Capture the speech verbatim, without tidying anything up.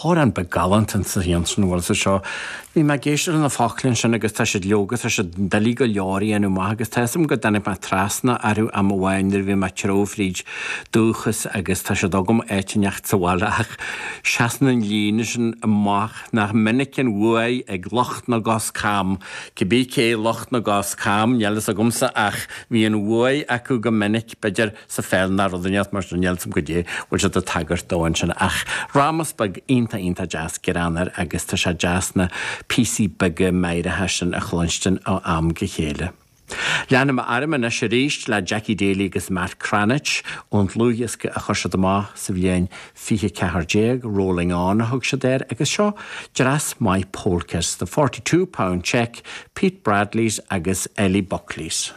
Amhrán beag galánta sa sin bhfuil sa seo. Bhí mé ag éisteacht leis na focla sin agus tá siad leoga tá siad doiligh go leor a dhéanamh amach agus tá am go dtáinig mé trasna orthu am amháin nuair a bhí mé ag treabhadh fríd dúchas agus tá siad agam áit inteacht sa bhaile ach seasann an líne sin amach nach minic an bhuaidh ag lucht na gcos cam, Cibé cé lucht na gcos cam níl fhios agamsa ach bhí an bhuaidh acu go minic b'fhéidir sa pheil ná rud inteacht mar sin níl fhios agam goidé bhfuil siad ag tagairt dó ansin ach rámas beag iontach iontach deas greannmhar agus tá sé deas na píosaí beaga meidhreacha sin a chluinstin ó am go chéile. Leanfaidh mé orm anois arís le Jackie Daly agus Matt Cranitch ón dlúthdhiosca a chuir siad amach sa bhliain fiche ceathair déag Rolling On a thug siad air agus seo dreas maith polkas, the forty two pound cheque, Pete Bradley's agus Ellie Buckley's.